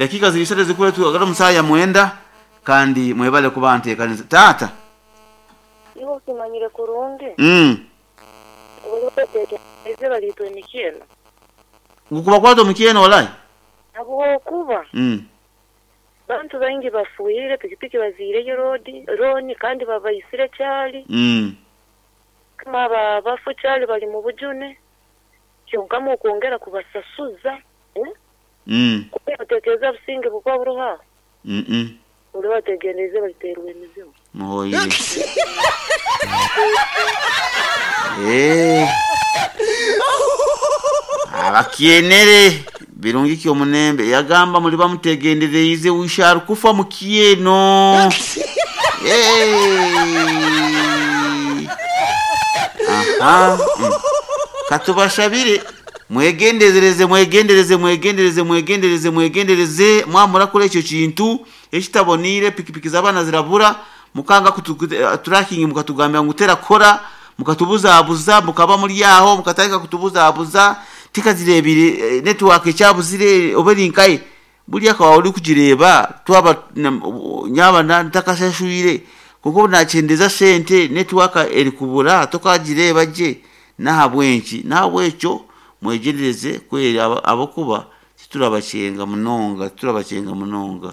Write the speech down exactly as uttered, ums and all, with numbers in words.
Dakika ziri isatu zikure tugagara omusaya mwenda kandi mwebale kuba nteekaniza taata. Iwe okimanyire kurungi. Mm. Oteekereze baliitwa emikyeno. Gukubakwata omukyeno walai. Habwokuba Mm. bantu baingi bafuire, pikipiki baziireyo roodi rooni kandi babaisire kyali. Mm. Kama aba abafu kyali bali mu bujune, kyonkamu okwongera kubasasuza, eh? Mm. Oteekereza businge bukuba buruho aho? Mm. Mm. Buli bategereze baliteerwa emizimu. Muhoire. Eh. Abakyenere birungi ki omunembe yagamba muli bamutegendereize wisharu kufa mukyeno. Eh. Aha. Mm. Katubashabire mwegendereze mwegendereze mwegendereze mwegendereze mwegendereze mwamurakora ekyo kintu ekitabonire. Pikipiki z'abaana zirabura mukanga kutu- tracking, mukatugambira ngu terakora, mukatubuzabuza, mukaba muri aho mukatandika kutubuzabuza tikazirebire eh, network ekyabuzire oba eri nkaye burya akaba ori kugireba twaba na- nyaba na- ntakashashwire kuko nakyendeza sente network eri kubura tokagireba gye. Nahabwenki nahabwekyo mwegendereze kweri aba- abakuba titurabakyenga munonga, titurabakyenga munonga.